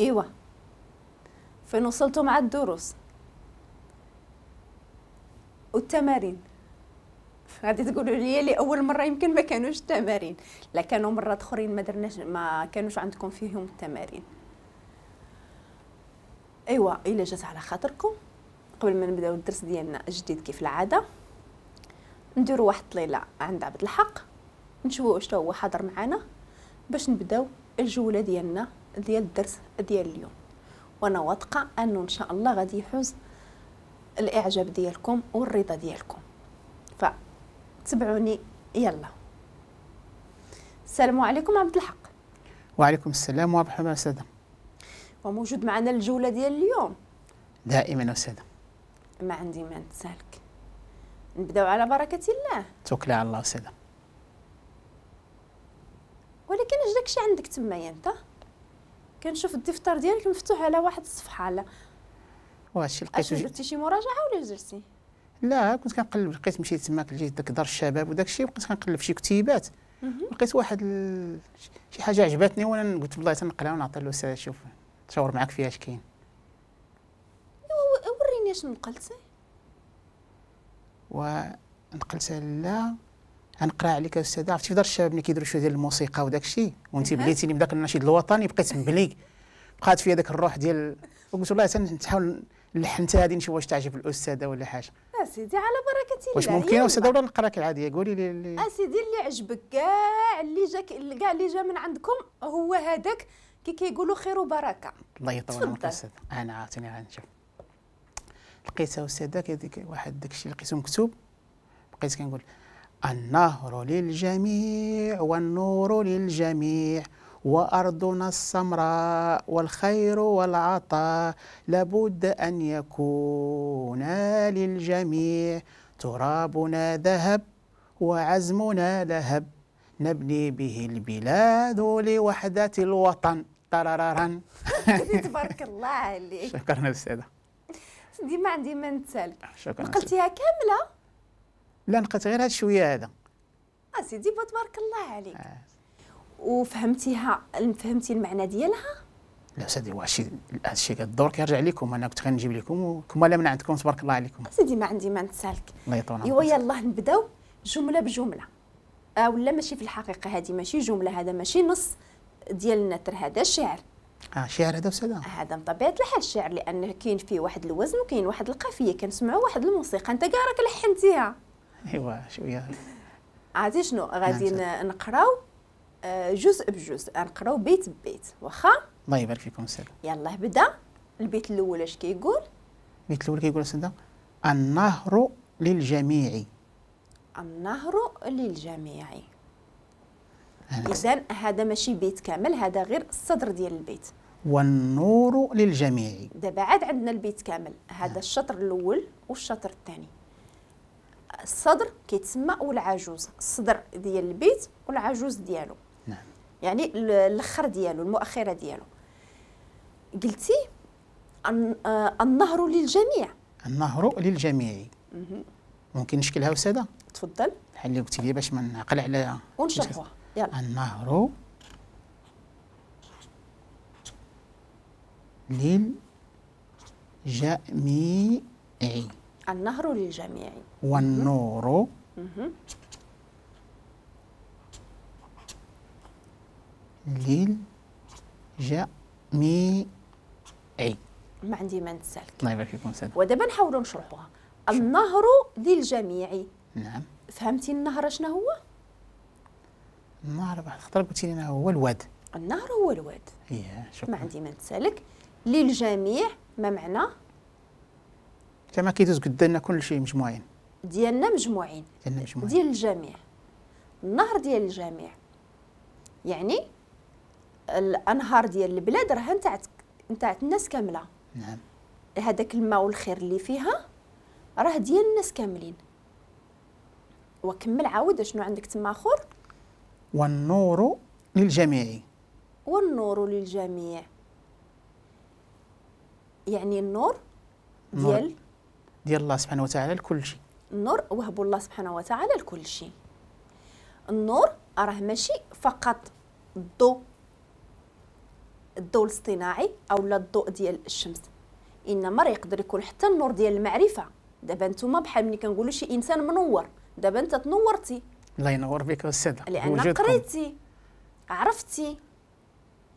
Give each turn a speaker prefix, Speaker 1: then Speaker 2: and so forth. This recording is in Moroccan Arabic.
Speaker 1: ايوا فين وصلتوا مع الدروس والتمارين؟ غادي تقولوا لي لاول مرة يمكن ما كانوش التمارين، لا كانوا مرات اخرين ما درناش، ما كانوش عندكم فيهم التمارين. ايوا الا جات على خاطركم قبل ما نبداو الدرس ديالنا الجديد كيف العادة نديروا واحد الطليله عند عبد الحق، نشوفوا واش هو حاضر معنا باش نبداو الجولة ديالنا ديال الدرس ديال اليوم. وانا واثقة انه ان شاء الله غادي يحوز الاعجاب ديالكم والرضا ديالكم، فتبعوني. يلا السلام عليكم عبد الحق.
Speaker 2: وعليكم السلام ورحمة الله أستاذة.
Speaker 1: وموجود معنا الجولة ديال اليوم
Speaker 2: دائما أستاذة.
Speaker 1: ما عندي ما نتسالك، نبداو على بركة الله.
Speaker 2: توكلي على الله أستاذة.
Speaker 1: ولكن اش داكشي عندك تمايا انت؟ كنشوف الدفتر ديالك مفتوح على واحد الصفحة. على
Speaker 2: واش لقيتو؟
Speaker 1: درتي شي مراجعه ولا درتي؟
Speaker 2: لا كنت كنقلب، لقيت مشيت تماك لجهة داك دار الشباب وداك الشيء، وبقيت كنقلب شي كتيبات، لقيت واحد شي حاجة عجبتني وانا قلت والله تنقلها ونعطي له شوف نشاور معاك فيها اش كاين.
Speaker 1: وريني اش نقلتي.
Speaker 2: ونقلت لا غنقرا عليك استاذه. عرفتي في دار الشباب ملي كيديروا شوية ديال الموسيقى وداك الشيء، وانت بليتيني بداك النشيد الوطني بقيت مبلي، بقات فيا داك الروح ديال، وقلت والله تنحاول نلحن حتى هذه نشوف واش تعجب الاستاذة ولا حاجة.
Speaker 1: اسيدي على بركة الله.
Speaker 2: واش ممكن استاذه ولا نقرا لك العادية؟ قولي لي
Speaker 1: اسيدي اللي عجبك كاع، اللي جاك كاع اللي جا من عندكم هو هذاك، كي كيقولوا خير وبركة.
Speaker 2: الله يطول عمرك استاذه. انا عاوتاني غنشوف لقيتها استاذه كديك واحد داك الشيء لقيته مكتوب، بقيت كنقول النهر للجميع والنور للجميع وأرضنا السمراء والخير والعطاء لابد أن يكون للجميع، ترابنا ذهب وعزمنا لهب نبني به البلاد لوحدة الوطن. ترارارا.
Speaker 1: تبارك الله عليك.
Speaker 2: شكرا أستاذة.
Speaker 1: سيدي ما عندي ما نتسالك.
Speaker 2: شكرا.
Speaker 1: نقلتيها كاملة؟
Speaker 2: لا نقلت غير هاد شوية هذا.
Speaker 1: اسيدي تبارك الله عليك. وفهمتيها، فهمتي المعنى ديالها؟
Speaker 2: لا سيدي واش هادشي كدور كيرجع لكم، انا كنت غنجيب لكم وكما لا من عندكم تبارك الله عليكم.
Speaker 1: سيدي ما عندي ما نتسالك.
Speaker 2: الله يطول عمرك.
Speaker 1: ايوا يلاه نبداو جملة بجملة. ولا ماشي في الحقيقة هذه ماشي جملة، هذا ماشي نص ديال النثر، هذا شعر.
Speaker 2: شعر هذا أستاذة؟
Speaker 1: هذا بطبيعة الحال شعر، لأن كاين فيه واحد الوزن وكاين واحد القافية، كنسمعوا واحد الموسيقى، أنت كاع راك لحنتيها.
Speaker 2: ايوا شوية.
Speaker 1: عرفتي شنو غادي نقراو جزء بجزء، نقراو بيت ببيت، واخا؟
Speaker 2: الله يبارك فيكم أستاذة.
Speaker 1: يلاه بدا. البيت الأول اش كيقول؟
Speaker 2: البيت الأول كيقول أستاذة النهر للجميع.
Speaker 1: النهر للجميع. إذا هذا ماشي بيت كامل، هذا غير الصدر ديال البيت.
Speaker 2: والنور للجميع.
Speaker 1: دابا عاد عندنا البيت كامل، هذا الشطر الأول والشطر الثاني. الصدر كيتسمى والعجوز، الصدر ديال البيت والعجوز ديالو.
Speaker 2: نعم.
Speaker 1: يعني الاخر ديالو، المؤخرة ديالو. قلتي النهر للجميع.
Speaker 2: النهر للجميع. ممكن نشكلها أستاذة؟
Speaker 1: تفضل.
Speaker 2: بحال اللي قلتي لي باش ما نعقل على
Speaker 1: ونشرحوها. يلا.
Speaker 2: النهر للجميع.
Speaker 1: النهر للجميع.
Speaker 2: والنور للجميع.
Speaker 1: ما عندي ما نتسالك.
Speaker 2: الله يبارك فيكم أستاذ.
Speaker 1: ودابا نحاولوا نشرحوها. النهر للجميع.
Speaker 2: نعم.
Speaker 1: فهمتي النهر شنو هو؟
Speaker 2: النهر واحد الخطرة قلتي لنا هو الواد.
Speaker 1: النهر هو الواد.
Speaker 2: إيه شكرا.
Speaker 1: ما عندي ما نتسالك. للجميع ما معنى؟
Speaker 2: كما كيدوز قدامنا كل شيء مجموعين.
Speaker 1: ديالنا مجموعين.
Speaker 2: ديالنا مجموعين.
Speaker 1: ديال الجميع. النهر ديال الجميع. يعني الانهار ديال البلاد راه نتاعت الناس كاملة.
Speaker 2: نعم.
Speaker 1: هذاك الماء والخير اللي فيها راه ديال الناس كاملين. وكمل عاود شنو عندك تما اخر؟
Speaker 2: والنور للجميع.
Speaker 1: والنور للجميع. يعني النور ديال
Speaker 2: الله سبحانه وتعالى لكل شيء.
Speaker 1: النور وهب الله سبحانه وتعالى لكل شيء. النور راه ماشي فقط الضوء، الضوء الاصطناعي او لا الضوء ديال الشمس، انما راه يقدر يكون حتى النور ديال المعرفة. دابا نتوما بحال ملي كنقولوا شي انسان منور، دابا انت تنورتي.
Speaker 2: الله ينور بك استاذه،
Speaker 1: لان قريتي، عرفتي.